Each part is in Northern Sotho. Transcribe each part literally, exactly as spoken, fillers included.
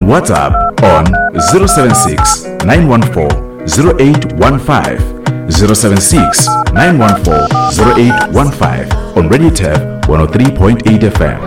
WhatsApp on zero seven six, nine one four, zero eight one five, zero seven six, nine one four, zero eight one five on Radio Turf one oh three point eight F M.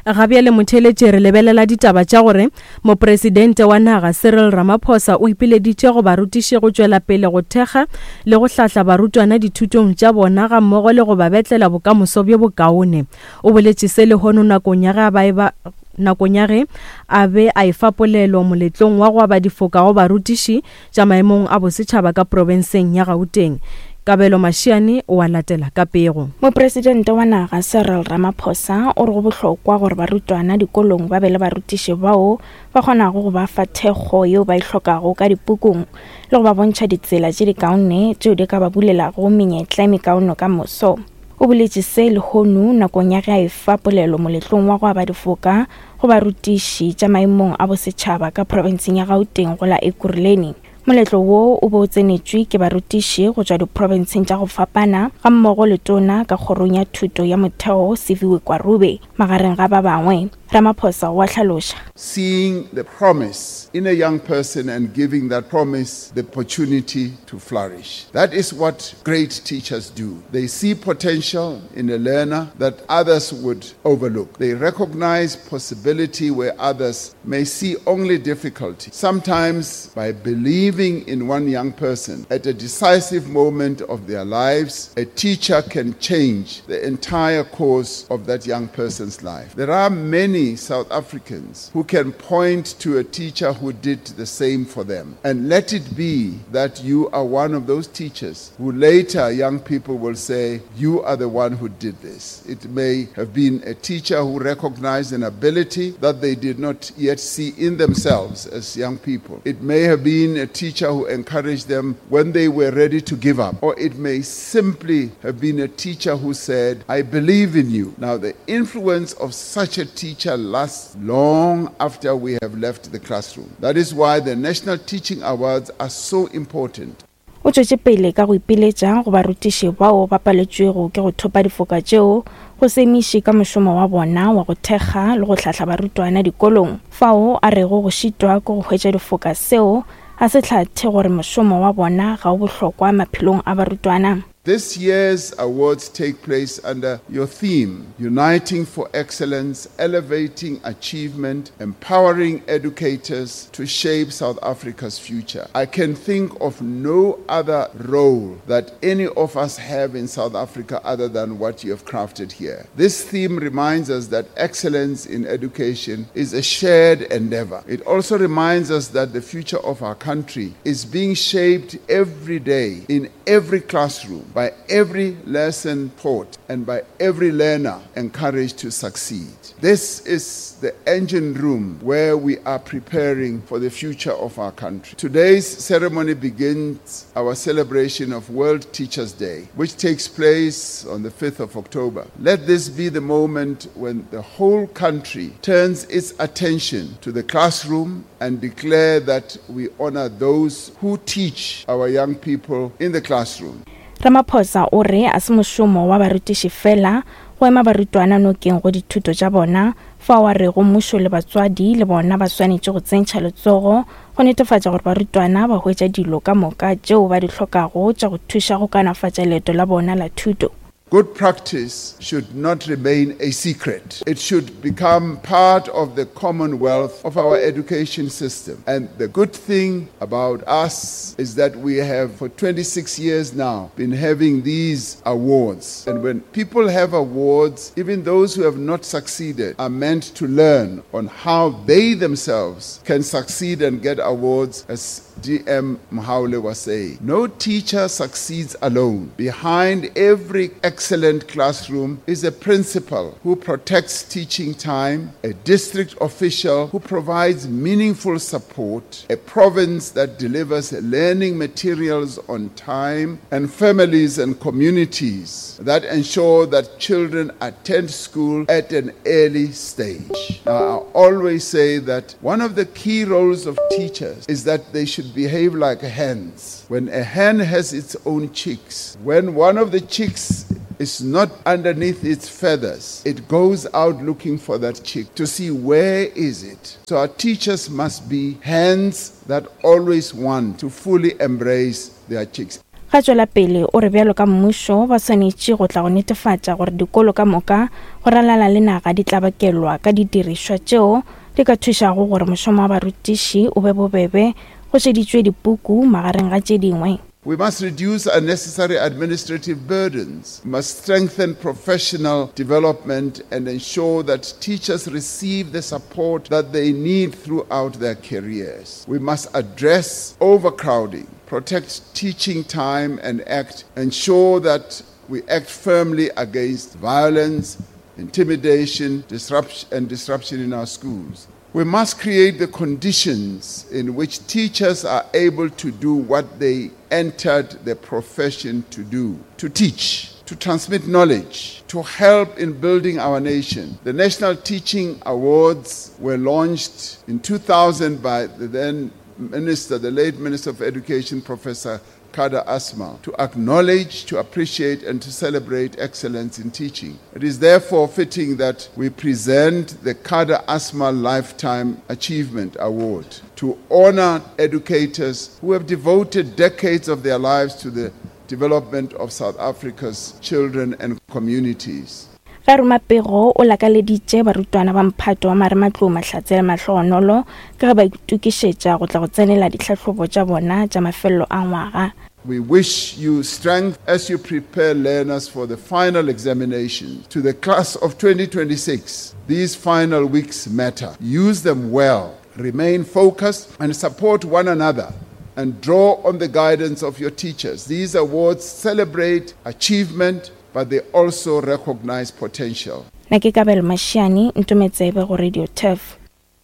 Ga bjale motheeletši re lebelela ditaba tša gore mopresidente wa naga Cyril Ramaphosa o ipileditše go barutiši go tšwela pele go thekga le go hlahla barutwana dithutong tša bona ga mmogo le go ba betlela bokamoso bjo bokaone. O boletše se lehono nakong ya ge a ba e ba nakong ya ge a be a efa polelo moletlong wa go aba difoka go barutiši tša maemong a bosetšhaba ka profenseng ya Gauteng. Kabelo Mashiane o a latela ka pego. Mopresidente wa naga Cyril Ramaphosa o re go bohlokwa gore barutwana dikolong ba be le barutiši bao ba kgonago go ba fa thekgo yeo ba e hlokago ka dipukung le go ba bontšha ditsela tše dikaone tšeo di ka ba bulelago menyetla e mekaone ka moso. O boletše se lehono nakong ya ge a efa polelo moletlong wa go aba difoka go barutiši tša maemong a bosetšhaba ka profenseng ya Gauteng go la Ekurhuleni. Moletlo wo o be o tsenetšwe ke barutiši go tšwa diprofenseng tša go fapana ga mmogo le tona ka kgorong ya thuto ya motheo Siviwe Gwarube magareng ga ba bangwe. Ramaphosa o a hlaloša. Seeing the promise in a young person and giving that promise the opportunity to flourish. That is what great teachers do. They see potential in a learner that others would overlook. They recognize possibility where others may see only difficulty. Sometimes by believing in one young person at a decisive moment of their lives, a teacher can change the entire course of that young person's life. There are many South Africans who can point to a teacher who did the same for them. And let it be that you are one of those teachers who later young people will say, you are the one who did this. It may have been a teacher who recognized an ability that they did not yet see in themselves as young people. It may have been a teacher who encouraged them when they were ready to give up. Or it may simply have been a teacher who said, I believe in you. Now, the influence of such a teacher lasts long after we have left the classroom. That is why the National Teaching Awards are so important. O tšwetše pele ka go ipiletša go barutiši bao ba paletšwego ke go thopa difoka tšeo go se emiše ka mošomo wa bona wa go thekga le go hlahla barutwana dikolong. Fao a rego go šitwa ke go hwetša difoka seo a se hlathe gore mošomo wa bona ga o bohlokwa maphelong a barutwana. This year's awards take place under your theme, Uniting for Excellence, Elevating Achievement, Empowering Educators to Shape South Africa's Future. I can think of no other role that any of us have in South Africa other than what you have crafted here. This theme reminds us that excellence in education is a shared endeavor. It also reminds us that the future of our country is being shaped every day in every classroom, by every lesson taught and by every learner encouraged to succeed. This is the engine room where we are preparing for the future of our country. Today's ceremony begins our celebration of World Teachers' Day, which takes place on the fifth of October. Let this be the moment when the whole country turns its attention to the classroom and declare that we honor those who teach our young people in the classroom. Ramaphosa o re a se mošomo wa barutiši fela go ema barutwana nokeng go dithuto tša bona, fao a rego mmušo le batswadi le bona ba swanetše go tsentšha letsogo go netefatša gore barutwana ba hwetša dilo ka moka tšeo ba di hlokago tša go thuša go kaonafatša leeto la bona la thuto. Good practice should not remain a secret. It should become part of the commonwealth of our education system. And the good thing about us is that we have, for twenty-six years now, been having these awards. And when people have awards, even those who have not succeeded are meant to learn on how they themselves can succeed and get awards, as D M Mhaule was saying. No teacher succeeds alone. Behind every excellent classroom is a principal who protects teaching time, a district official who provides meaningful support, a province that delivers learning materials on time, and families and communities that ensure that children attend school at an early stage. Now, I always say that one of the key roles of teachers is that they should behave like hens. When a hen has its own chicks, when one of the chicks It's not underneath its feathers. It goes out looking for that chick to see where is it. So our teachers must be hands that always want to fully embrace their chicks. Ga tswela pele o re bjalo ka mmušo ba swanetše go tla go netefatša gore dikolo ka moka go ralala le naga di tlabakelwa ka didirišwa tšeo di ka thušago gore mošomo wa barutiši o be bobebe go šeditšwe dipuku magareng ga tše dingwe. We must reduce unnecessary administrative burdens. We must strengthen professional development and ensure that teachers receive the support that they need throughout their careers. We must address overcrowding, protect teaching time and act, ensure that we act firmly against violence, intimidation, disruption, and disruption in our schools. We must create the conditions in which teachers are able to do what they entered the profession to do, to teach, to transmit knowledge, to help in building our nation. The National Teaching Awards were launched in two thousand by the then Minister, the late Minister of Education, Professor Kader Asmal, to acknowledge, to appreciate, and to celebrate excellence in teaching. It is therefore fitting that we present the Kader Asmal Lifetime Achievement Award to honor educators who have devoted decades of their lives to the development of South Africa's children and communities. Ga ruma pego o lakaleditše barutwana ba mphato wa marematlou Mahlatse le Mahlogonolo ka ge ba itokišetša go tla go tsenela ditlhahlobo tša bona tša mafelelo a ngwaga. We wish you strength as you prepare learners for the final examination. To the class of twenty twenty-six, these final weeks matter. Use them well. Remain focused and support one another, and draw on the guidance of your teachers. These awards celebrate achievement, but they also recognize potential. Na ke Kabelo Mashiane, Ntometsebe go Radio Turf.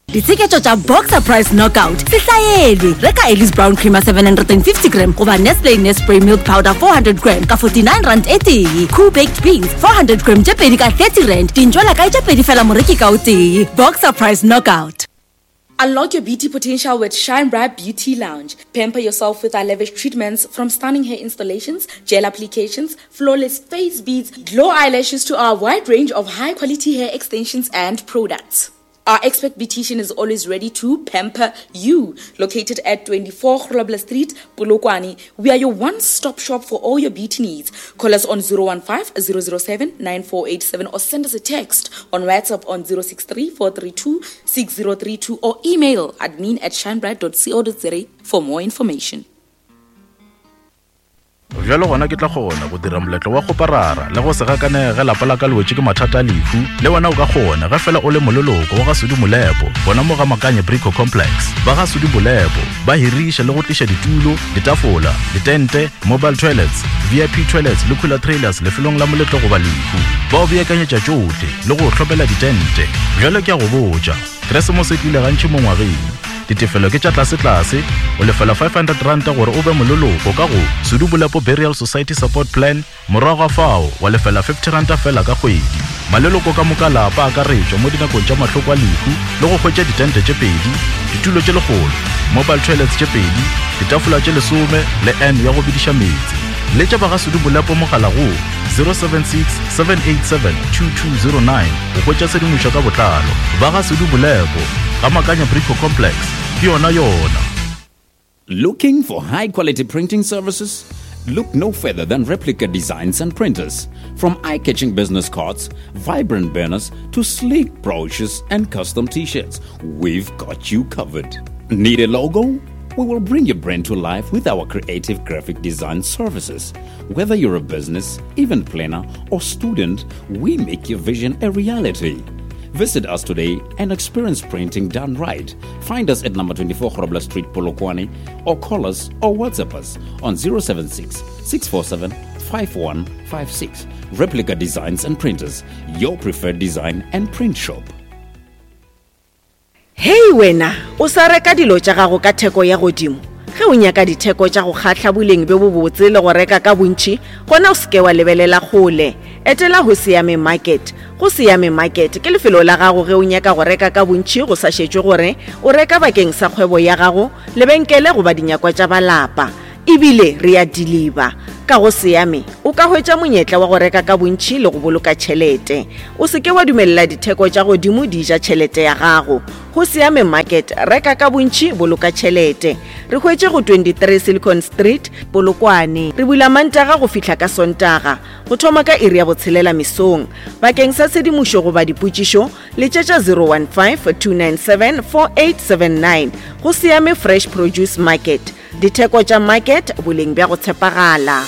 Ditsheketšo tša Boxer Price Knockout se hlaelwe. Reka Ellis Brown Creamer seven hundred and fifty gram goba Nestle Nespray Milk Powder four hundred gram ka forty-nine rand e tee. Cool Baked Beans four hundred gram tše pedi ka thirty rand. Dintšwela kae tše pedi fela moreki ka o tee. Boxer Price Knockout. Unlock your beauty potential with Shine Bright Beauty Lounge. Pamper yourself with our lavish treatments, from stunning hair installations, gel applications, flawless face beads, glow eyelashes to our wide range of high-quality hair extensions and products. Our expert beautician is always ready to pamper you. Located at twenty-four Grobler Street, Polokwane, we are your one-stop shop for all your beauty needs. Call us on zero one five, zero zero seven, nine four eight seven or send us a text on WhatsApp on zero six three, four three two, six zero three two or email admin at shinebright dot co dot za for more information. Bjalo gona ke tla kgona go dira moletlo wa go parara le go se gakanege lapa la ka le wetše ke mathata a lehu. Le wena o ka kgona ge fela o le moleloko wa ga Sudi Molepo, gona mo ga Makanye Brico Complex. Ba ga Sudi Molepo ba hiriša le go tliša ditulo, ditafola, ditente, mobile toilets, V I P toilets le cooler trailers lefelong la moletlo goba lehu. Ba o beakanyetša tšohle le go hlopela ditente. Bjalo ke a go botša, Keresemose e tlile gantši mo ngwageng. Ditefelo ke tša tlase-tlase, o lefela five hundred rand gore o be moleloko ka go Sudi Molepo Burial Society Support Plan, morago ga fao wa lefela fifty rand fela ka kgwedi. Maleloko ka moka lapa a akaretšwa mo dinakong tša mahloko a lehu le go hwetša ditente tše pedi, ditulo tše lekgolo, mobile toilets tše pedi, ditafola tše lesome le N ya go bidiša meetse. Letša ba ga Sudi Molepo mogala go zero seven six, seven eight seven, two two zero nine go hwetša tshedimošo ka botlalo. Ba ga Sudi Molepo, ga Makanya Brico Complex, ke yona yona. Looking for high quality printing services? Look no further than Replica Designs and Printers. From eye-catching business cards, vibrant banners, to sleek brochures and custom t-shirts, we've got you covered. Need a logo? We will bring your brand to life with our creative graphic design services. Whether you're a business, event planner, or student, we make your vision a reality. Visit us today and experience printing done right. Find us at number twenty-four Grobler Street, Polokwane, or call us or WhatsApp us on zero seven six, six four seven, five one five six. Replica Designs and Printers, your preferred design and print shop. Hey wena, o sa reka dilo tša gago ka theko ya godimo. Ge o nyaka ditheko tša go kgahla boleng bjo bobotse le go reka ka bontši, gona o seke wa lebelela kgole. Etela go Siame Market. Go Siame Market ke lefelo la gago ge o nyaka go reka ka bontši go sa šetšwe gore o reka bakeng sa kgwebo ya gago, lebenkele goba dinyakwa tša balapa. Ebile re a deliver. Ka go Seame o ka hwetša monyetla wa go reka ka bontši le go boloka tšhelete. O se ke wa dumelela ditheko tša godimo di ja tšhelete ya gago. Go Seame Market, reka ka bontši, boloka tšhelete. Re hwetše go twenty-three Silicon Street, Polokwane. Re bula Mantaga go fihla ka Sontaga, go thoma ka iri ya botshelela mesong. Bakeng sa tshedimošo goba dipotšišo, letšetša zero one five, two nine seven, four eight seven nine. Go Seame Fresh Produce Market. Ditheko tša market, boleng bja go tshepagala.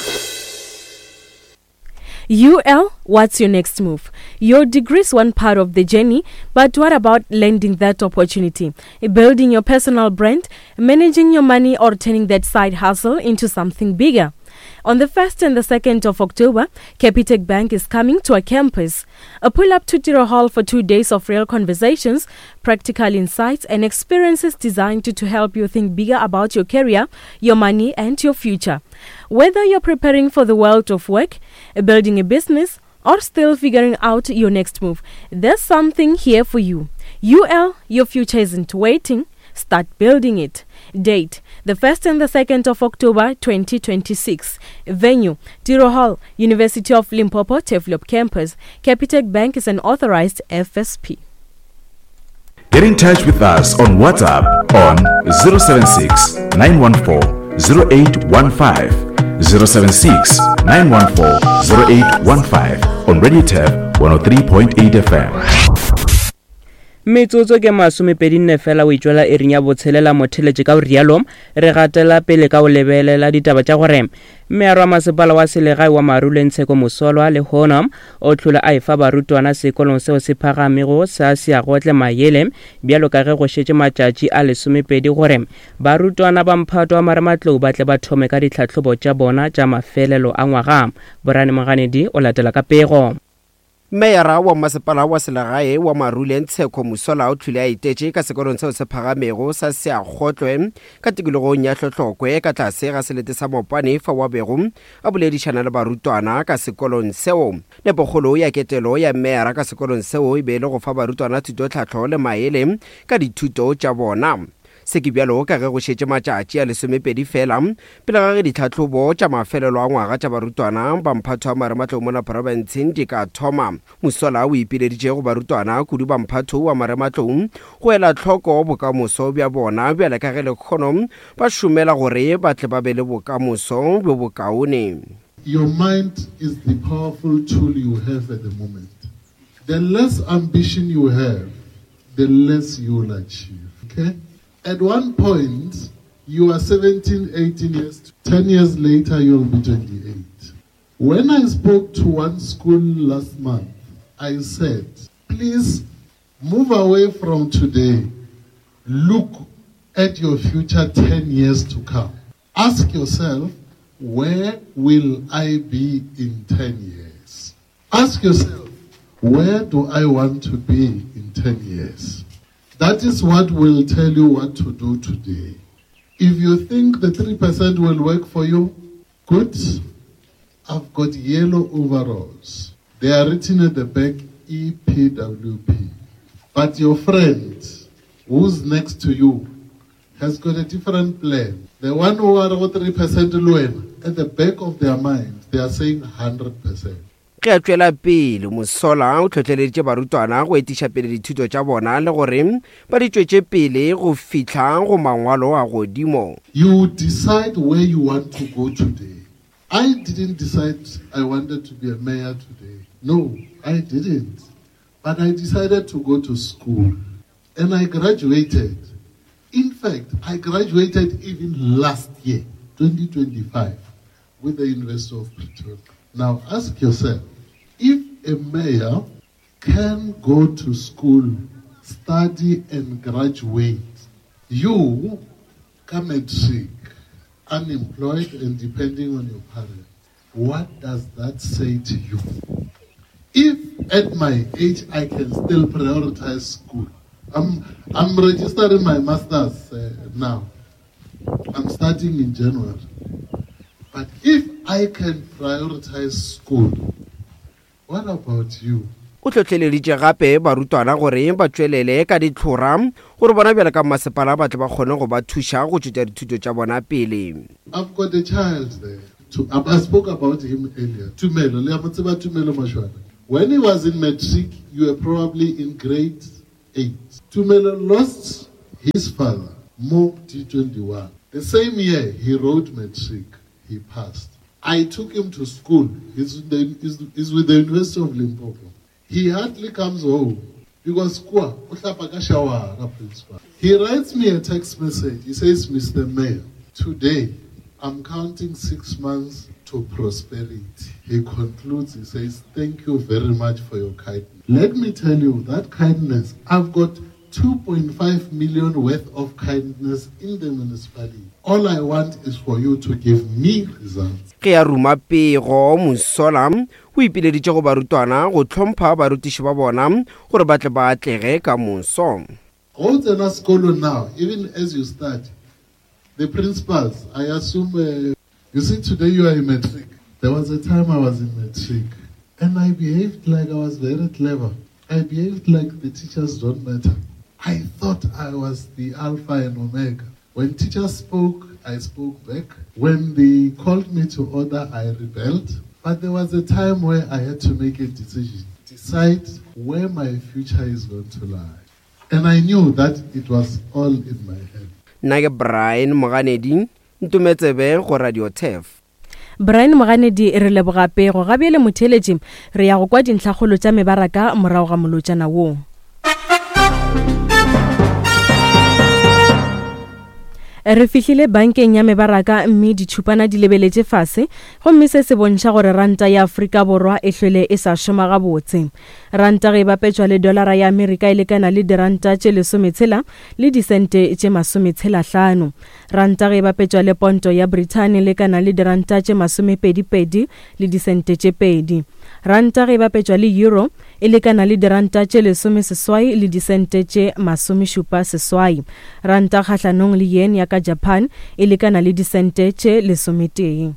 U L, what's your next move? Your degree is one part of the journey, but what about landing that opportunity? Building your personal brand, managing your money, or turning that side hustle into something bigger? On the first and the second of October, Capitec Bank is coming to our campus. A pull up to Tiro Hall for two days of real conversations, practical insights, and experiences designed to, to help you think bigger about your career, your money, and your future. Whether you're preparing for the world of work, building a business, or still figuring out your next move, there's something here for you. U L, your future isn't waiting. Start building it. Date, the first and the second of October twenty twenty-six. Venue, Tiro Hall, University of Limpopo, Turfloop Campus. Capitec Bank is an authorized F S P. Get in touch with us on WhatsApp on zero seven six, nine one four, zero eight one five, zero seven six, nine one four, zero eight one five on Radio Turf one oh three point eight F M. Metsotso ke masomepedi nne fela o itšwela ering ya botshelela motheletše ka o rialo re gatela pele ka o lebelela ditaba tša gore mmearo wa masepala wa selegae wa Maruleng Tsheko Mosolwa le hona o tlhola a efa barutwana sekolong seo se phagamego sa Seagotle Mayele bjalo ka ge go šetše matšatši a lesomepedi gore barutwana ba mphato wa marematlou ba tle ba thome ka ditlhahlobo tša bona tša mafelelo a ngwaga. Borane Moganedi o latela ka pego. Meyara wa masepala wa selegae wa Maruleng Tsheko Mosola o tlhole a etetše ka sekolong seo se phagamego sa Seagotle ka tikologong ya Hlohlokwe ka tlase ga selete sa Mopane fa wa bego a boledišana le barutwana ka sekolong seo. Nepokgolo ya ketelo ya meyara ka sekolong seo e be e le go fa barutwana thutotlhahlo le maele ka dithuto tša bona. Se ke bjalo ka ge go šetše matšatši a lesomepedi fela pele ga ge ditlhahlobo tša mafelelo a ngwaga tša barutwana ba mphato wa marematlou mona profenseng di ka thoma. Mosola o ipileditše go barutwana kudu ba mphato wa marematlou go ela tlhoko bokamoso bja bona bjale ka ge lekgono ba šomela gore ba tle ba be le bokamoso bjo bokaone. Your mind is the powerful tool you have at the moment. The less ambition you have, the less you will achieve. Okay? At one point, you are seventeen, eighteen years. ten years later, you'll be twenty-eight. When I spoke to one school last month, I said, please move away from today. Look at your future ten years to come. Ask yourself, where will I be in ten years? Ask yourself, where do I want to be in ten years? That is what will tell you what to do today. If you think the three percent will work for you, good. I've got yellow overalls. They are written at the back, E P W P. But your friend who's next to you has got a different plan. The one who are got three percent loan, at the back of their mind, they are saying one hundred percent. Ge a tšwela pele Mosola o hlohleleditše barutwana go etiša pele dithuto tša bona le gore ba di tšwetše pele go fihla go mangwalo a godimo. You decide where you want to go today. I didn't decide I wanted to be a mayor today. No, I didn't. But I decided to go to school and I graduated. In fact, I graduated even last year, twenty twenty-five, with the University of Pretoria. Now ask yourself, if a mayor can go to school, study and graduate, you come at sick, unemployed and depending on your parents, what does that say to you? If at my age I can still prioritize school, I'm, I'm registering my master's uh, now. I'm starting in January. But if I can prioritize school, what about you? O hlohleleditše gape barutwana gore ba tšwelele ka ditlhora gore bona bjale ka masepala ba tle ba kgone go ba thuša go tšwetša dithuto tša bona pele. I've got a child there. To, I spoke about him earlier. Tumelo, le a mo tseba Tumelo Mashwana. When he was in matric, you were probably in grade eight. Tumelo lost his father, Mo D twenty-one. The same year he wrote matric, he passed. I took him to school. He's, in the, he's, he's with the University of Limpopo. He hardly comes home because kwa, o hlapa ka shower, principal. He writes me a text message. He says, Mister Mayor, today I'm counting six months to prosperity. He concludes, he says, thank you very much for your kindness. Let me tell you, that kindness, I've got two point five million worth of kindness in the municipality. All I want is for you to give me results. Ge a ruma pego Mosola o ipileditše go barutwana go hlompha barutiši ba bona gore ba tle ba atlege ka moso. Go tsena sekolo now, even as you start, the principals, I assume, uh, you see today you are in matric. There was a time I was in matric and I behaved like I was very clever. I behaved like the teachers don't matter. I thought I was the alpha and omega. When teachers spoke, I spoke back. When they called me to order, I rebelled. But there was a time where I had to make a decision, decide where my future is going to lie. And I knew that it was all in my head. Nna ke Brian Moganedi, ntumetsebe go Radio Turf. Brian Moganedi re leboga pego. Ga bjale motheeletši re ya go kwa dintlhakgolo tša mebaraka morago ga molotšana wo. Re fihlile bankeng ya mebaraka mme ditšhupana di lebeletše fase, gomme se se bontšha gore ranta ya Afrika Borwa e hlwele e sa šoma gabotse. Ranta ge e bapetšwa le dolara ya Amerika e lekana le diranta tše lesometshela le disente tše masometshela hlano. Ranta ge e bapetšwa le ponto ya Britain e lekana le diranta tše masomepedipedi le disente tše pedi. Ranta ge e bapetšwa le euro e lekana le diranta tše lesomeseswai le disente tše masomešupa seswai. Ranta kgahlanong le yen ya ka Japan e lekana le disente tše lesometee.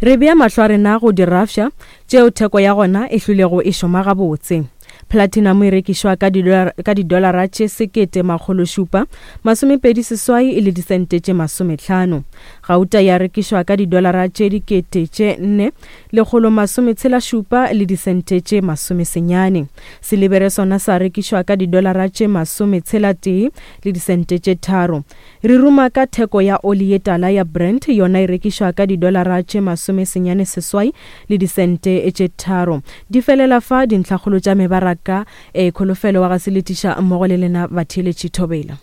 Re bea mahlo a rena go dirafša tšeo theko ya gona e hlwelego e šoma gabotse. Platinum e rekišwa ka didolara tše sekete makgolo šupa masomepedi seswai e le disente tše masometlhano. Gauta ya rekišwa ka didolara tše dikete tše nne lekgolo masometshela šupa le disente tše masomesenyane. Silibere sona sa rekišwa ka didolara tše masometshela tee le disente tše tharo. Re ruma ka theko ya oli ye tala ya Brent, yona e rekišwa ka didolara tše masomesenyane seswai le disente tše tharo. Di felela fa dintlhakgolo tša mebaraka e kholofelo wa ga seletiša mmogo le lena batheeletši thobela.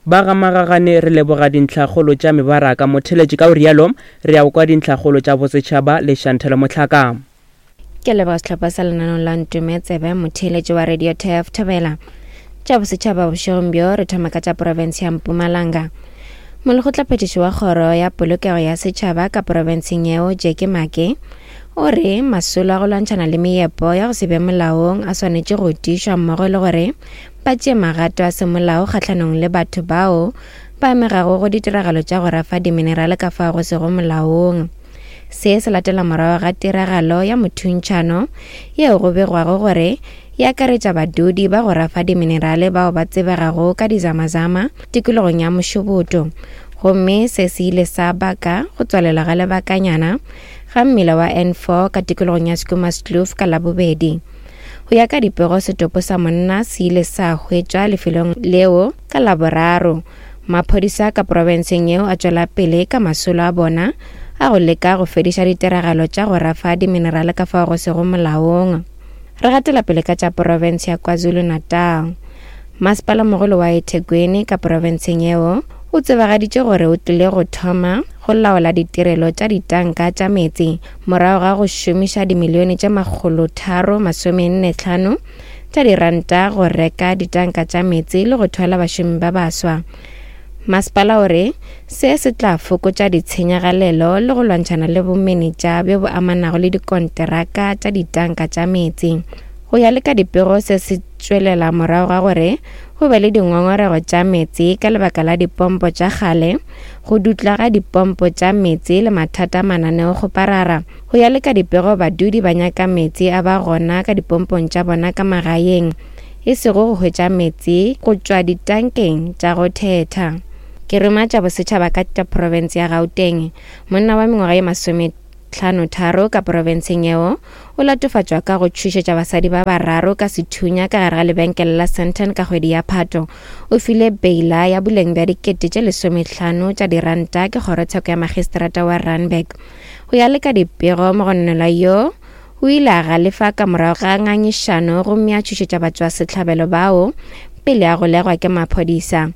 Ba ga magagane re leboga dintlhakgolo tša mebaraka. Motheeletši ka o rialo re ya go kwa dintlhakgolo tša bosetšhaba le Chantel Motlhaka. Ke leboga sehlopha sa lenaneo la Ntumetsebe, motheeletši wa Radio T F Thobela. Tša bosetšhaba bošegong bjo re thoma ka tša profense ya Mpumalanga. Molekgotlaphethiši wa kgoro ya polokego ya setšhaba ka profenseng yeo Jackie Make o re masolo a go lwantšhana le meepo ya go se be molaong a swanetše go tiišwa mmogo le gore ba tšee magato a semolao kgahlanong le batho bao ba amegago go ditiragalo tša go rafa diminerale ka fao go sego molaong. Se se latela morago ga tiragalo ya mothuntšhano yeo go begwago gore e akaretša badudi ba go rafa diminerale bao ba tsebegago ka dizamazama tikologong ya Mošoboto, gomme se se ile sa baka go tswalelwa ga lebakanyana ga mmila wa N four ka tikologong ya Schoemaskloof ka Labobedi. Go ya ka dipego, setopo sa monna se ile sa hwetšwa lefelong leo ka Laboraro. Maphodisa ka profenseng yeo a tšwela pele ka masolo a bona a go leka go fediša ditiragalo tša go rafa diminerale ka fao go sego molaong. Re gatela pele ka tša profense ya KwaZulu-Natal. Masepala mogolo wa eThekwini ka profenseng yeo o tsebagaditše gore o tlile go thoma go laola ditirelo tša ditanka tša metsi morago ga go šomiša dimilione tše makgolo tharo masomenne hlano tša diranta go reka ditanka tša metsi le go thwala bašomi ba baswa. Masepala o re se se tla fokotša ditshenyagalelo le go lwantšhana le bomenetša bjo bo amanago le dikonteraka tša ditanka tša metsi. Go ya le ka dipego, se se tšwelela morago ga gore go be le dingongorego tša meetse ka lebaka la dipompo tša kgale, go dutla ga dipompo tša meetse le mathata a mananeokgoparara. Go ya le ka dipego, badudi ba nyaka meetse a ba gona ka dipompong tša bona ka magaeng, e sego go hwetša meetse go tšwa ditankeng tša go thetha. Ke roma tša bosetšhaba ka tša profense ya Gauteng. Monna wa mengwaga ye masome tlhano tharo ka profenseng yeo o latofatšwa ka go tšhošetša basadi ba bararo ka sethunya ka gare ga lebenkele la Sandton ka kgwedi ya Phato. O file beila ya boleng bja dikete tše lesomehlano tša diranta ke kgorotsheko ya magistrata wa Randburg. Go ya le ka dipego, mogononelwa yo o ile a galefa ka morago ga ngangišano gomme a tšhošetša batšwasehlabelo bao pele a golegwa ke maphodisa.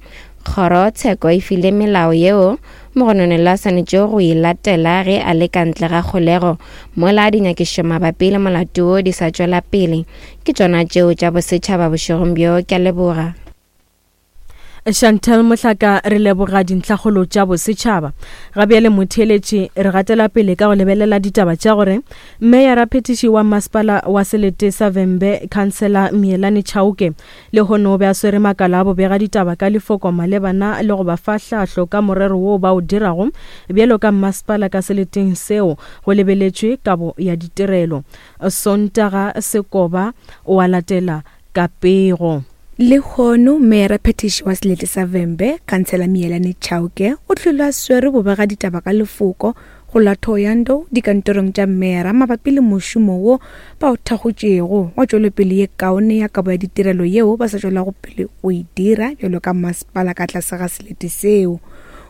Kgorotsheko e file melao yeo mogononelwa a swanetšego go e latela ge a le ka ntle ga kgolego, mola dinyakišišo mabapi le molato wo di sa tšwela pele. Ke tšona tšeo tša bosetšhaba bošegong bjo. Ke a leboga. Chantel Mohlaka, re leboga dintlhakgolo tša bosetšhaba. Ga bjale motheeletši, re gatela pele ka go lebelela ditaba tša gore meyara phetiši wa masepala wa selete sa Vhembe, Councillor Mielane Chauke, lehono o be a swere makala a bobega ditaba ka lefoko malebana le go ba fa hlahlo ka morero wo ba o dirago bjalo ka masepala ka seleteng seo go lebeletšwe kabo ya ditirelo. Sontaga Sekoba o a latela ka pego. Lehono meyara phetiši wa selete sa Vhembe, Councillor Mielane Chauke, o hlwile a swere bobega ditaba ka lefoko go la Thohoyandou dikantorong tša meyara mabapi le mošomo wo ba o thakgotšego wa tšwelopele ye kaone ya kabo ya ditirelo yeo ba sa tšwelago pele go e dira bjalo ka masepala ka tlase ga selete seo.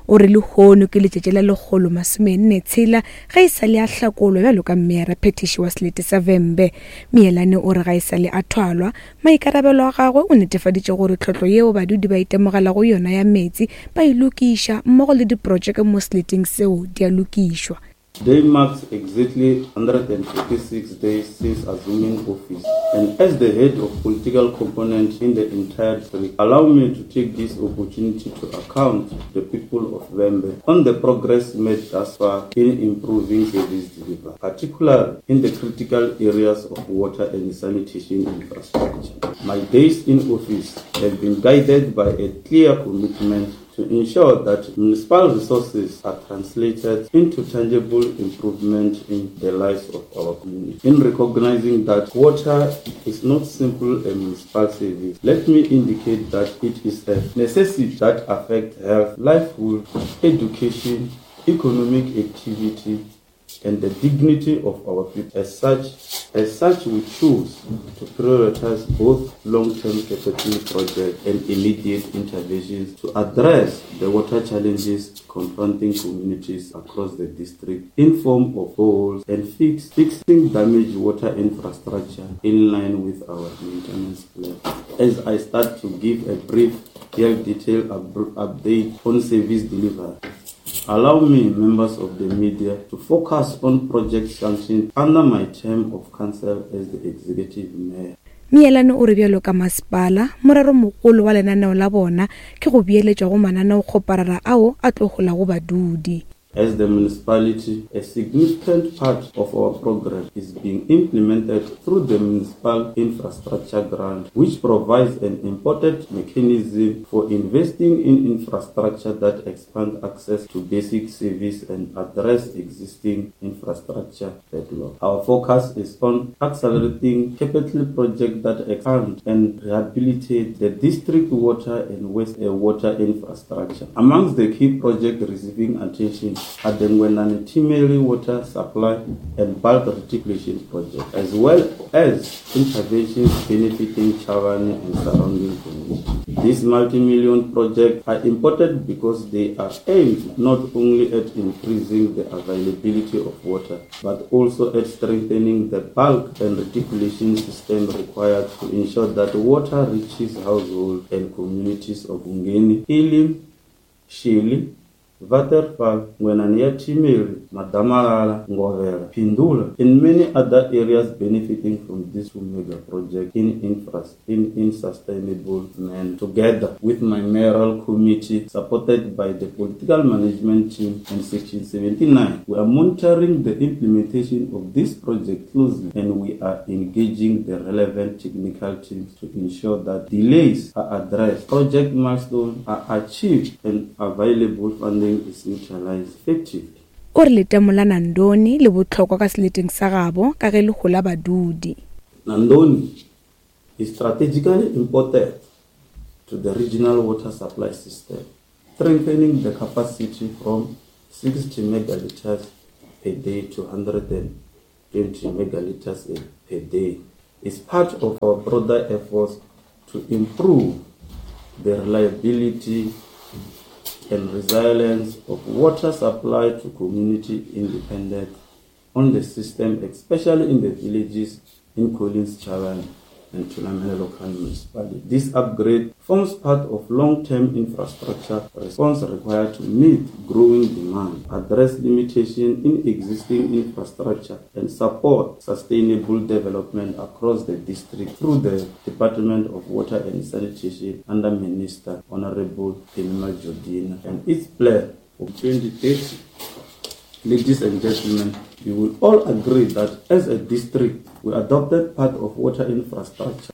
O re lehono ke letšatši la lekgolo masomenne tshela ge e sa le a hlakolwa bjalo ka meyara phetiši wa selete sa Vhembe. Mielane o re ga e sa le a thwalwa, maikarabelo a gagwe o netefaditše gore tlhotlo yeo badudi ba itemogelago yona ya meetse ba e lokiša mmogo le diprotšeke mo seleteng seo di a lokišwa. Today marks exactly one hundred forty-six days since assuming office, and as the head of political component in the entire district, allow me to take this opportunity to account the people of Vhembe on the progress made thus far in improving service delivery, particularly in the critical areas of water and sanitation infrastructure. My days in office have been guided by a clear commitment to ensure that municipal resources are translated into tangible improvement in the lives of our community. In recognizing that water is not simply a municipal service, let me indicate that it is a necessity that affects health, livelihood, education, economic activity, and the dignity of our people. As such, as such, we choose to prioritize both long-term capital projects and immediate interventions to address the water challenges confronting communities across the district in form of boreholes and fix, fixing damaged water infrastructure in line with our maintenance plan. As I start to give a brief yet detailed update on service delivery, allow me, members of the media, to focus on project sanctioned under my term of council as the executive mayor. Mielane o re bjalo ka masepala, morero mogolo wa lenaneo la bona ke go beeletša go mananeokgoparara ao a tlo holago badudi. As the municipality, a significant part of our program is being implemented through the Municipal Infrastructure Grant, which provides an important mechanism for investing in infrastructure that expands access to basic service and address existing infrastructure backlog. Our focus is on accelerating capital projects that expand and rehabilitate the district water and waste water infrastructure. Amongst the key projects receiving attention are the Ngwenani Timeli water supply and bulk reticulation project, as well as interventions benefiting Chavani and surrounding communities. These multi-million projects are important because they are aimed not only at increasing the availability of water, but also at strengthening the bulk and reticulation system required to ensure that water reaches households and communities of Umgeni, Elim, Shelly, Waterval, Ngwenani ya Thimiri, Madamalala, Ngovhela, Pindula, and many other areas benefiting from these two mega projects in infra in, in sustainable manner. Together with my mayoral committee, supported by the political management team and Section seventy-nine, we are monitoring the implementation of this project closely, and we are engaging the relevant technical teams to ensure that delays are addressed, project milestones are achieved, and available funding is utilized effectively. O re letamo la Nandoni le bohlokwa ka seleteng sa gabo ka ge le hola badudi. Nandoni is strategically important to the regional water supply system, strengthening the capacity from sixty megaliters per day to one hundred twenty megaliters per day. Is part of our broader efforts to improve the reliability and resilience of water supply to community independent on the system, especially in the villages in Collins Chabane and Thulamela local municipality. This upgrade forms part of long-term infrastructure response required to meet growing demand, address limitation in existing infrastructure, and support sustainable development across the district through the Department of Water and Sanitation under Minister Honorable Pemmy Majodina and its plan for twenty thirty. Ladies and gentlemen, you will all agree that as a district, we adopted part of water infrastructure.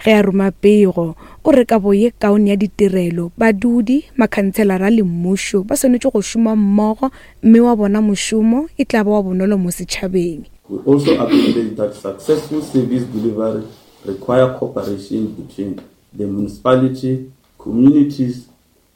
Ge a ruma pego, o re kabo ye kaone ya ditirelo, badudi, makhanselara le mmušo ba swanetše go šoma mmogo mme wa bona mošomo e tla ba wa bonolo mo setšhabeng. We also acknowledge that successful service delivery require cooperation between the municipality, communities,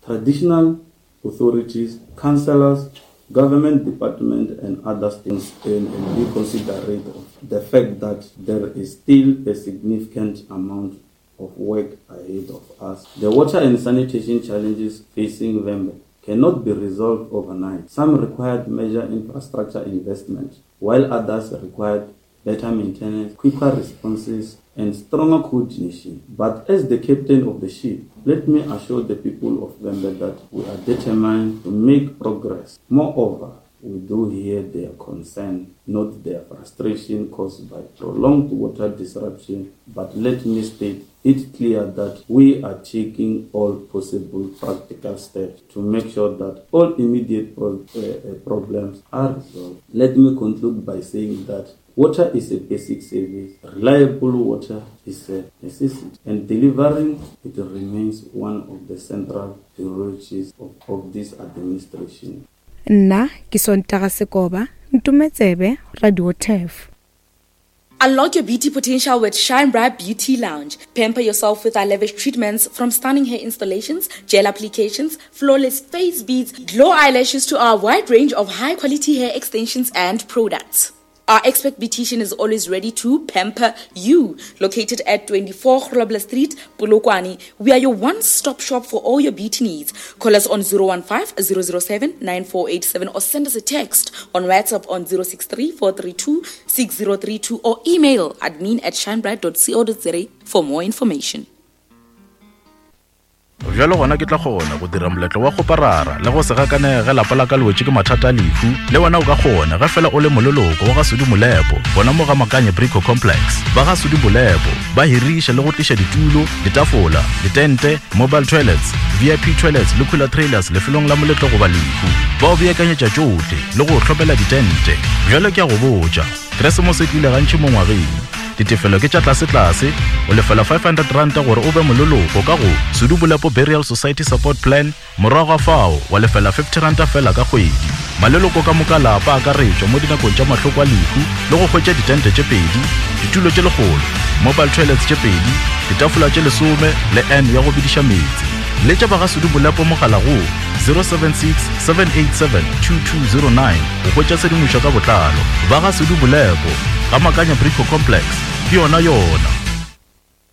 traditional authorities, councillors, government department and other things, and, and be considerate of the fact that there is still a significant amount of work ahead of us. The water and sanitation challenges facing Vhembe cannot be resolved overnight. Some required major infrastructure investment, while others required better maintenance, quicker responses, and stronger coordination. But as the captain of the ship, let me assure the people of Vhembe that we are determined to make progress. Moreover, we do hear their concern, not their frustration caused by prolonged water disruption, but let me state it clear that we are taking all possible practical steps to make sure that all immediate pro- uh, problems are resolved. Let me conclude by saying that water is a basic service, reliable water is a necessity, and delivering it remains one of the central priorities of, of this administration. Nna ke Sontaga Sekoba, Ntumetsebe, Radio Turf. Unlock your beauty potential with Shine Bright Beauty Lounge. Pamper yourself with our lavish treatments, from stunning hair installations, gel applications, flawless face beads, glow eyelashes to our wide range of high-quality hair extensions and products. Our expert beautician is always ready to pamper you. Located at twenty-four Grobler Street, Polokwane, we are your one-stop shop for all your beauty needs. Call us on zero one five, zero zero seven, nine four eight seven or send us a text on WhatsApp on zero six three, four three two, six zero three two or email admin at shinebright dot co dot za for more information. Bjalo gona ke tla kgona go dira moletlo wa go parara le go se gakanege lapa la ka le wetše ke mathata a lehu. Le wena o ka kgona ge fela o le moleloko wa ga Sudi Molepo, bona mo ga Makanye Brico Complex. Ba ga Sudi Molepo ba hiriša le go tliša ditulo, ditafola, ditente, mobile toilets, V I P toilets le cooler trailers lefelong la moletlo goba lehu. Ba o beakanyetša tšohle le go hlopela ditente. Bjalo ke a go botša, Keresemose e tlile gantši mo ngwageng. Ditefelo ke tša tlase-tlase, o lefela five hundred rand gore o be moleloko ka go Sudi Molepo Burial Society Support Plan, morago ga fao wa lefela fifty rand fela ka kgwedi. Maleloko ka moka lapa a akaretšwa mo dinakong tša mahloko a lehu le go hwetša ditente tše pedi, ditulo tše lekgolo, mobile toilets tše pedi, ditafola tše lesome le N ya go bediša meetse. Letša ba ga Sudi Molepo mogala go zero seven six, seven eight seven, two two zero nine go hwetša tshedimošo ka botlalo. Ba ga Sudi Molepo ga Makanya Brico Complex, ke yona yona.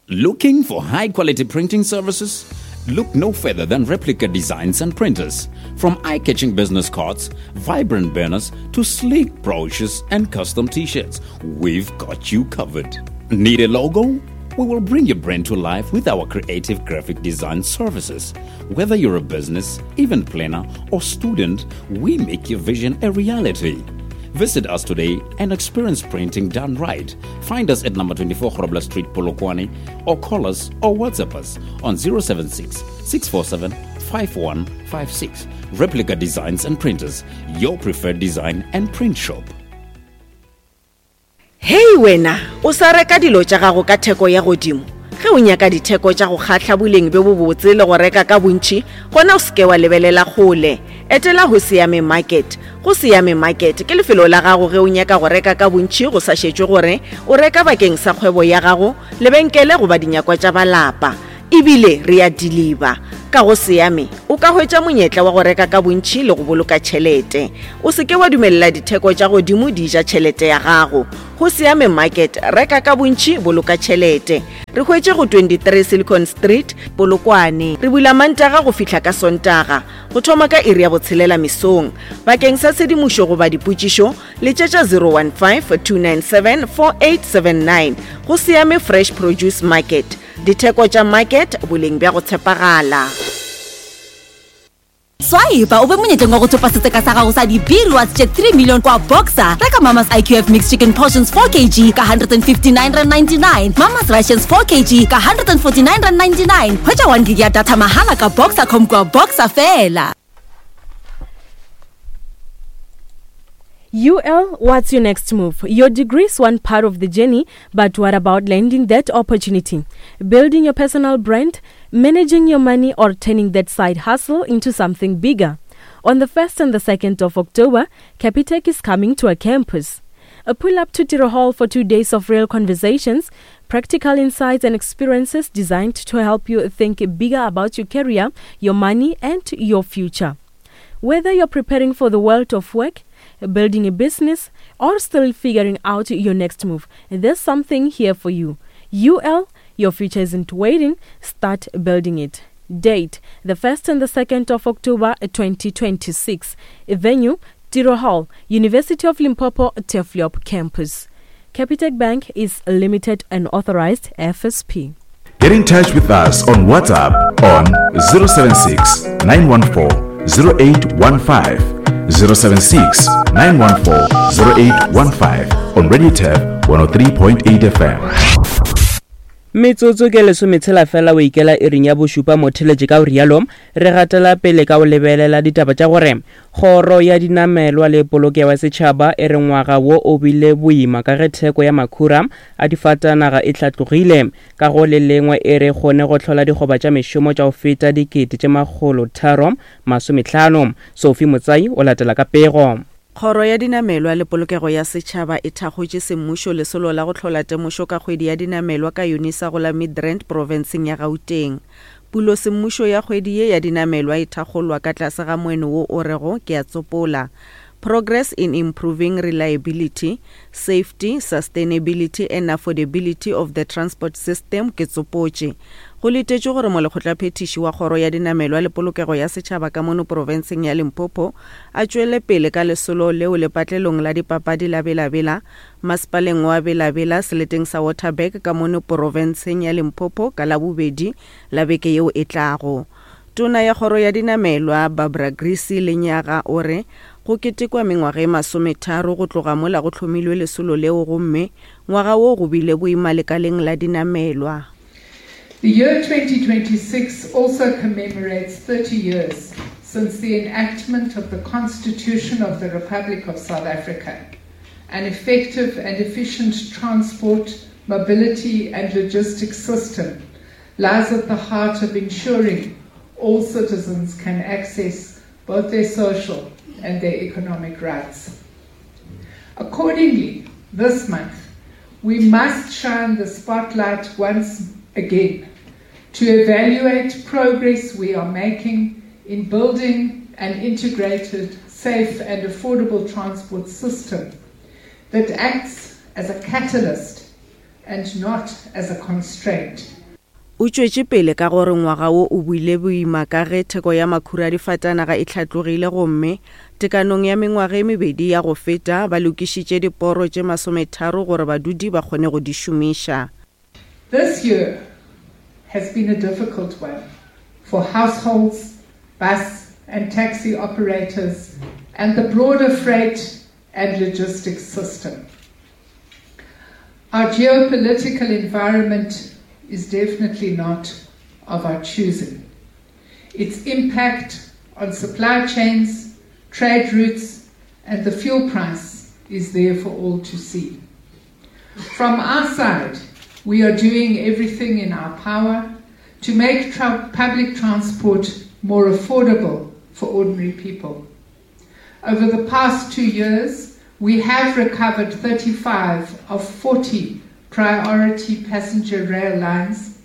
Looking for high quality printing services? Look no further than Replica Designs and Printers. From eye-catching business cards, vibrant banners, to sleek brochures and custom t-shirts, we've got you covered. Need a logo? We will bring your brand to life with our creative graphic design services. Whether you're a business, event planner, or student, we make your vision a reality. Visit us today and experience printing done right. Find us at number twenty-four Grobler Street, Polokwane, or call us or WhatsApp us on zero seven six, six four seven, five one five six. Replica Designs and Printers, your preferred design and print shop. Hey wena, o sa reka dilo tša gago ka theko ya godimo. Ge o nyaka ditheko tša go kgahla boleng bjo bobotse le go reka ka bontši, gona o seke wa lebelela kgole. Etela ho Siame Market. Go Siame Market ke lefelo la gago ge o nyaka go reka ka bontši go sa šetšwe gore o reka bakeng sa kgwebo ya gago, lebenkele goba dinyakwa tša balapa. Ebile re a deliver. Ka go Siame o ka hwetša monyetla wa go reka ka bontši le go boloka tšhelete. O seke wa dumelela ditheko tša godimo di ja tšhelete ya gago. Go Siame Market, reka ka bontši, boloka tšhelete. Re hwetše go twenty-three Silicon Street, Polokwane. Re bula Mantaga go fihla ka Sontaga, go thoma ka iri ya botshelela mesong. Bakeng sa tshedimošo goba dipotšišo, letšetša zero one five, two nine seven, four eight seven nine. Go Siame Fresh Produce Market. Ditheko tša market, boleng bja go tshepagala. Swipe o be monyetleng wa go thopa setseka sa gago sa di-B-Rewards tše three million kwa Boxer. Reka Mama's I Q F Mixed Chicken Portions four kilograms ka hundred and fifty-nine rand ninety-nine, Mama's Rations four kilograms ka hundred and forty-nine rand ninety-nine. Hwetša one gig ya data mahala ka Boxer.com kwa Boxer fela. U L, what's your next move? Your degree is one part of the journey, but what about landing that opportunity? Building your personal brand, managing your money, or turning that side hustle into something bigger? On the first and the second of October, Capitec is coming to a campus. A pull up to Tiro Hall for two days of real conversations, practical insights and experiences designed to help you think bigger about your career, your money, and your future. Whether you're preparing for the world of work, building a business, or still figuring out your next move, there's something here for you. U L, your future isn't waiting. Start building it. Date, the first and the second of October twenty twenty-six. Venue, Tiro Hall, University of Limpopo, Turfloop Campus. Capitec Bank is limited and authorized F S P. Get in touch with us on WhatsApp on zero seven six, nine one four, zero eight one five, zero seven six, nine one four, zero eight one five on Radio Turf one oh three point eight F M. Metsotso ke lesometshela fela o ikela iring ya bošupa motheletše ka o rialo re gatela pele ka o lebelela ditaba tša gore kgoro ya dinamelwa le polokego ya setšhaba e re ngwaga wo o bile boima ka ge theko ya makhura a difatanaga e hlatlogile ka go le lengwe e re kgone go hlola digoba tša mešomo tša go feta dikete tše makgolo tharo masomehlano. Sophie Motsai o latela ka pego. Kgoro ya dinamelwa le polokego ya setšhaba e thakgotše semmušo lesolo la go hlola temošo ka kgwedi ya dinamelwa ka Unisa go la Midrand profenseng ya Gauteng. Pulo semmušo ya kgwedi ye ya dinamelwa e thakgolwa ka tlase ga moeno wo o rego ke a tsopola. Progress in improving reliability, safety, sustainability and affordability of the transport system ke tsopotše. Go letetšwe gore molekgotlaphethiši wa kgoro ya dinamelwa le polokego ya setšhaba ka mono profenseng ya Limpopo a tšwele pele ka lesolo leo lepatlelong la dipapadi la Belabela, masepaleng wa Belabela seleteng sa Waterberg ka mono profenseng ya Limpopo ka Labobedi la beke yeo e tlago. Tona ya kgoro ya dinamelwa Barbara Grisi Lenyaga o re go ketekwa mengwaga e masometharo go tloga mola go hlomilwe lesolo leo gomme ngwaga wo go bile boima lekaleng la dinamelwa. The year twenty twenty-six also commemorates thirty years since the enactment of the Constitution of the Republic of South Africa. An effective and efficient transport, mobility and logistics system lies at the heart of ensuring all citizens can access both their social and their economic rights. Accordingly, this month, we must shine the spotlight once again to evaluate progress we are making in building an integrated, safe and affordable transport system that acts as a catalyst and not as a constraint. O tšwetše pele ka gore ngwaga wo o buile boima ka ge theko ya makhura a difatanaga e hlatlogile gomme tekanong ya mengwaga e mebedi ya go feta ba lokišitše diporo tše masometharo gore badudi ba kgone go di šomiša. This year has been a difficult one for households, bus and taxi operators, and the broader freight and logistics system. Our geopolitical environment is definitely not of our choosing. Its impact on supply chains, trade routes, and the fuel price is there for all to see. From our side, we are doing everything in our power to make tra- public transport more affordable for ordinary people. Over the past two years, we have recovered thirty-five of forty priority passenger rail lines.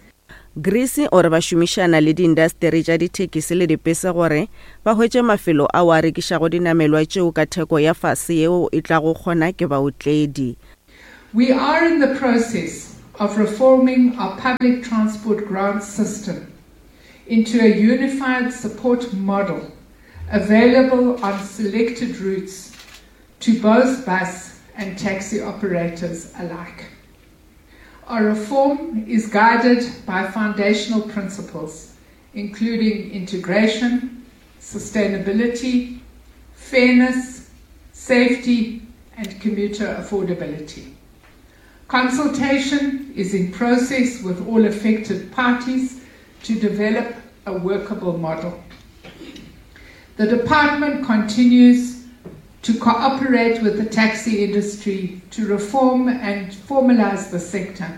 Greece o re ba šomišana le diindasteri tša dithekisi le dipese gore ba hwetše mafelo ao a rekišago dinamelwa tšeo ka theko ya fase yeo e tlago kgona ke baotledi. We are in the process of reforming our public transport grant system into a unified support model available on selected routes to both bus and taxi operators alike. Our reform is guided by foundational principles, including integration, sustainability, fairness, safety, and commuter affordability. Consultation is in process with all affected parties to develop a workable model. The department continues to cooperate with the taxi industry to reform and formalize the sector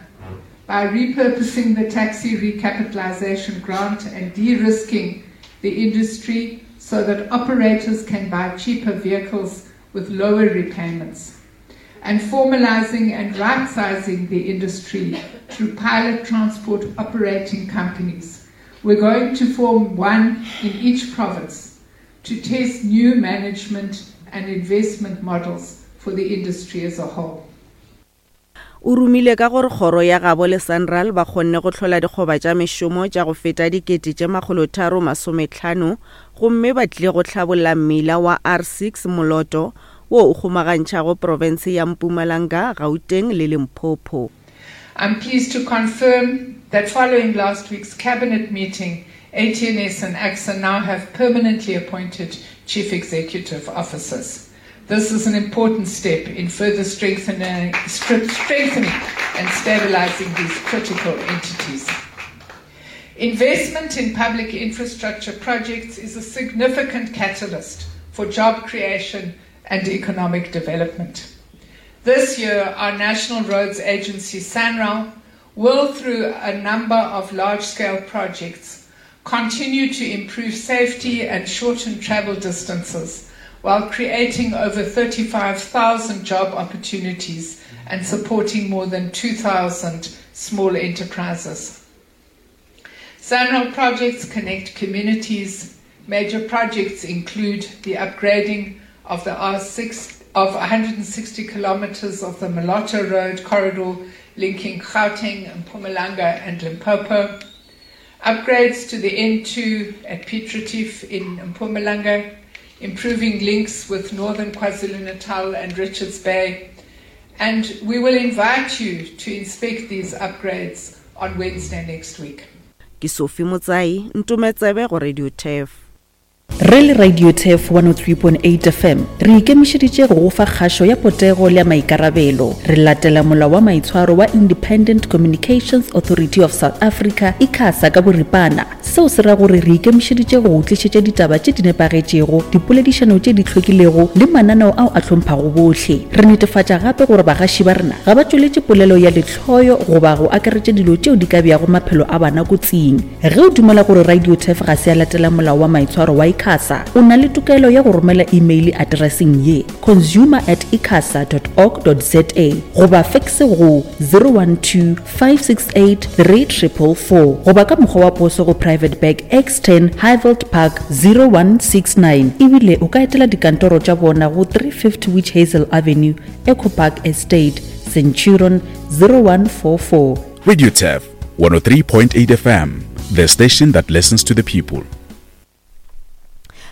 by repurposing the taxi recapitalization grant and de-risking the industry so that operators can buy cheaper vehicles with lower repayments, and formalizing and right-sizing the industry through pilot transport operating companies. We're going to form one in each province to test new management and investment models for the industry as a whole. O romile ka gore kgoro ya gabo le Sanral ba kgonne go hlola dikgoba tša mešomo tša go feta dikete tše makgolo tharo masometlhano gomme ba tlile go hlabolla mmila wa R six Moloto wo o kgomagantšhago profense ya Mpumalanga, Gauteng le Limpopo. I'm pleased to confirm that following last week's cabinet meeting, A T N S and A C S A now have permanently appointed chief executive officers. This is an important step in further strengthening, strengthening and stabilizing these critical entities. Investment in public infrastructure projects is a significant catalyst for job creation and economic development. This year, our National Roads Agency, SANRAL, will, through a number of large-scale projects, continue to improve safety and shorten travel distances while creating over thirty-five thousand job opportunities and supporting more than two thousand small enterprises. SANRAL projects connect communities. Major projects include the upgrading of the R six of one hundred sixty kilometers of the Moloto Road corridor linking Gauteng, Mpumalanga and Limpopo, upgrades to the N two at Piet Retief in Mpumalanga, improving links with northern KwaZulu-Natal and Richards Bay, and we will invite you to inspect these upgrades on Wednesday next week. Ke Sophie Motsai, Ntometsebe go Radio Turf. Re le Radio Turf one oh three point eight F M re ikemišeditše go go fa kgašo ya potego le ya maikarabelo. Re latela molao wa maitshwaro wa Independent Communications Authority of South Africa, ICASA ka boripana. Seo se ra gore re ikemišeditše go go tlišetša ditaba tše di nepagetšego, dipoledišano tše di hlwekilego le mananeo ao a hlomphago bohle. Re netefatša gape gore bagaši ba rena ga ba tšweletše polelo ya lehloyo goba go akaretša dilo tšeo di ka beago maphelo a bana kotsing. Ge o dumela gore Radio Turf ga se ya latela molao wa maitshwaro wa ICASA, o na le tokelo ya go romela email addresseng ye consumer at icasa dot org dot za goba fax go zero one two five six eight three triple four goba ka mokgwa wa poso go Private Bag X ten Highveld Park zero one six nine. Ebile o ka etela dikantoro tša bona go three fifty Witch Hazel Avenue, Echo Park Estate, Centurion zero one four four. Radio Turf one oh three point eight F M, the station that listens to the people.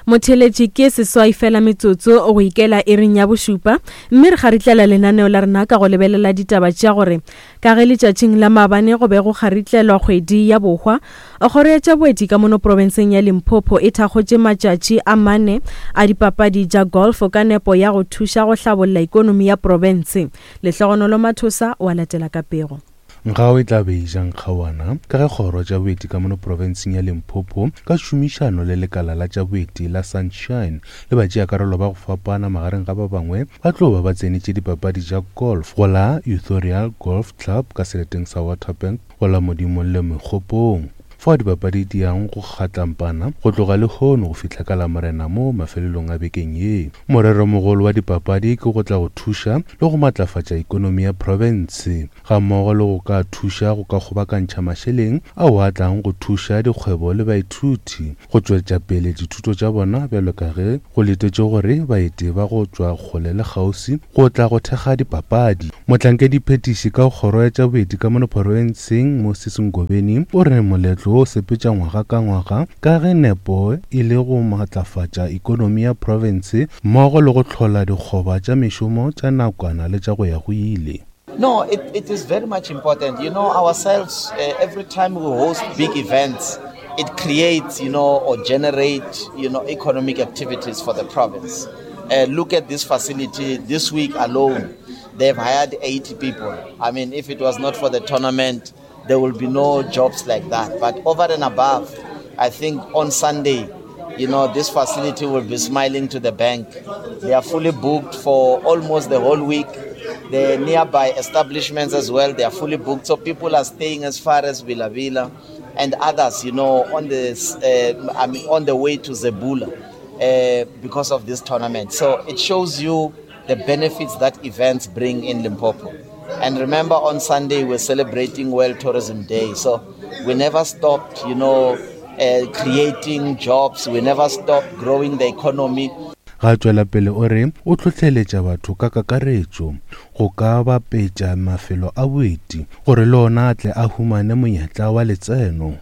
Motheletši ke seswai fela metsotso go ikela iring ya bošupa, mme re kgaritlela lenaneo la rena ka go lebelela ditaba tša gore ka ge letšatšing la maabane go be go kgaritlelwa kgwedi ya bohwa, kgoro ya tša boeti ka mono profenseng ya Limpopo e thakgotše matšatši a mane a dipapadi tša golf ka nepo ya go thuša go hlabolla ikonomi ya profense. Lehlogonolo Mathosa o a latela ka pego. Nkgao e tla be e ja nkgawana ka ge kgoro tša boeti ka mono profenseng ya Limpopo ka tšhomišano le lekala la tša boeti la Sunshine le batšeakarolo ba go fapana magareng ga ba bangwe ba tlo ba ba tsenetše dipapadi tša golf go la Ethereal Golf Club ka seleteng sa Waterbank go la Modimong le Mekgopong. Fao dipapadi di yang go kgatlampana go tloga lehono go fihla ka Lamorena mo mafelelong a bekeng ye. Moreromogolo wa dipapadi ke go tla go thuša le go matlafatša ikonomi ya profense ga mmogo le go ka thuša go ka kgobokantšha mašeleng ao a tlang go thuša dikgwebo le baithuti go tšwetša pele dithuto tša bona bjalo ka ge go letetše gore baeti ba go tšwa kgole le kgauswi go tla go thekga dipapadi. Mohlankediphetiši ka kgoro ya tša boeti ka mono profenseng Moses Ngobeni o re moletlo o sepetša ngwaga ka ngwaga ka ge nepo e le go matlafatša ikonomi ya profense mmogo le go hlola dikgoba tša mešomo tša nakwana le tša go ya go ile. No, it, it is very much important. You know, ourselves, uh, every time we host big events, it creates, you know, or generate, you know, economic activities for the province. Uh, look at this facility this week alone. They've hired eighty people. I mean, if it was not for the tournament, there will be no jobs like that. But over and above, I think on Sunday, you know, this facility will be smiling to the bank. They are fully booked for almost the whole week. The nearby establishments as well, they are fully booked. So people are staying as far as Vila Vila and others, you know, on the, uh, I mean, on the way to Zebula uh, because of this tournament. So it shows you the benefits that events bring in Limpopo. And remember, on Sunday, we're celebrating World Tourism Day. So we never stopped, you know, uh, creating jobs. We never stopped growing the economy. Ga tšwela pele o re o hlohleletša batho ka kakaretšo go ka bapetša mafelo a boeti gore le ona a tle a humane monyetla wa letseno.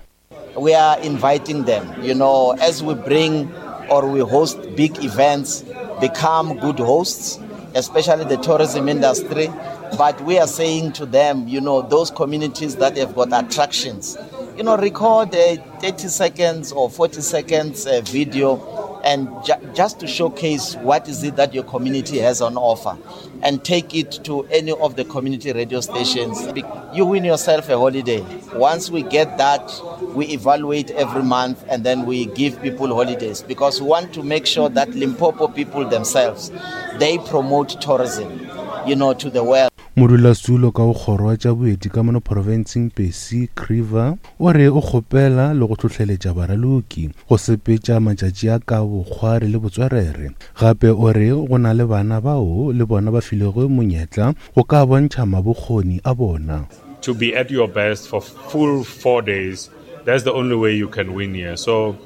We are inviting them, you know, as we bring or we host big events, become good hosts, especially the tourism industry. But we are saying to them, you know, those communities that have got attractions, you know, record a thirty seconds or forty seconds uh, video and ju- just to showcase what is it that your community has on offer, and take it to any of the community radio stations. You win yourself a holiday. Once we get that, we evaluate every month and then we give people holidays, because we want to make sure that Limpopo people themselves, they promote tourism, you know, to the world. Modulasetulo ka go kgoro tša boeti ka mono profenseng Pesi Kriva o re o kgopela le go hlohleletša baraloki go sepetša matšatši a ka bokgwari le botswerere. Gape o re go na le bana bao le bona ba filego monyetla go ka bontšha mabokgoni a bona. To be at your best for full four days, that's the only way you can win here. So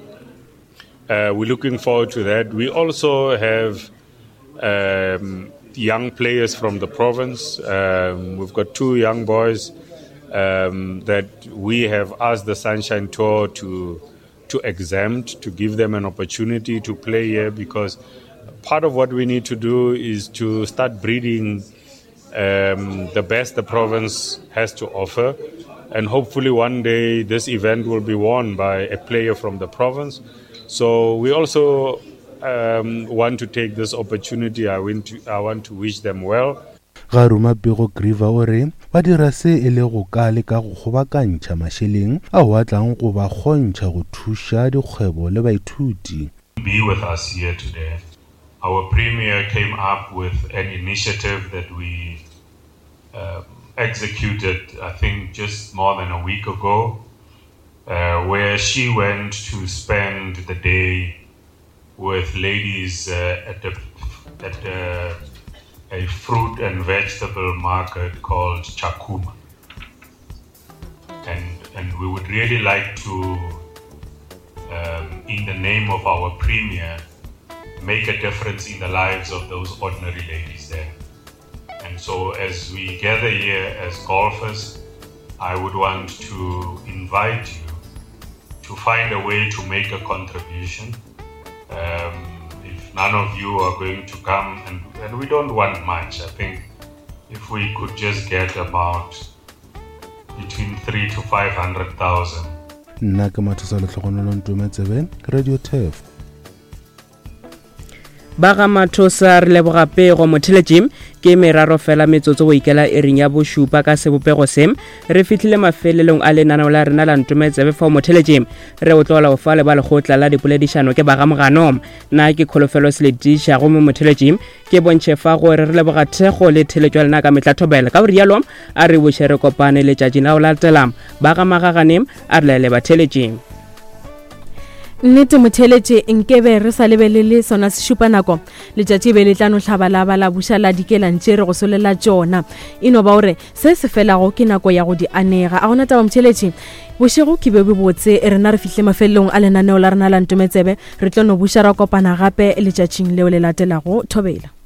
uh, we're looking forward to that. We also have um, young players from the province. Um, we've got two young boys um, that we have asked the Sunshine Tour to to exempt, to give them an opportunity to play here, because part of what we need to do is to start breeding um, the best the province has to offer. And hopefully one day this event will be won by a player from the province. So we also um, want to take this opportunity. I want to, I want to wish them well. Ga ruma pego Griva o re ba dira se e le go ka leka go kgobokantšha mašeleng ao a tlang go ba kgontšha go thuša dikgwebo le baithuti. Be with us here today. Our premier came up with an initiative that we uh, executed, I think, just more than a week ago, uh, where she went to spend the day with ladies uh, at the, at the, a fruit and vegetable market called Chakuma. And, and we would really like to, um, in the name of our premier, make a difference in the lives of those ordinary ladies there. And so as we gather here as golfers, I would want to invite you to find a way to make a contribution. Um, if none of you are going to come, and, and we don't want much, I think if we could just get about between three to five hundred thousand. Nna ke Mathosa Lehlogonolo Ntometsebe, Radio Turf. Ba ga Mathosa re leboga pego motheletši ke meraro fela metsotso go ikela ering ya bošupa ka sebopego se re fihlile mafelelong a lenaneo la rena la Ntometsebe fao motheletši re o tlola go fa le ba lekgotla la dipoledišano ke bagamogano nna ke Kholofelo Seletiša gomme motheletši ke bontšhe fa gore re leboga thekgo le theletšo ya lena ka mehla thobela ka borialo a re boše re kopane letšatšing la go latela ba ga magagane a re laele batheletši. Nnete motheletše nkebe re sa lebelele sona sešupa nako letšatši be le tla no hlaba la ba la buša la dikelang tše re go solela tšona e no ba gore se se felago ke nako ya go di anega a gona taba motheletše bošego ke be bobotse rena re fihle mafelelong a lenaneo la rena la Ntometsebe re tlo no buša ra kopana gape letšatšing leo le latelago thobela.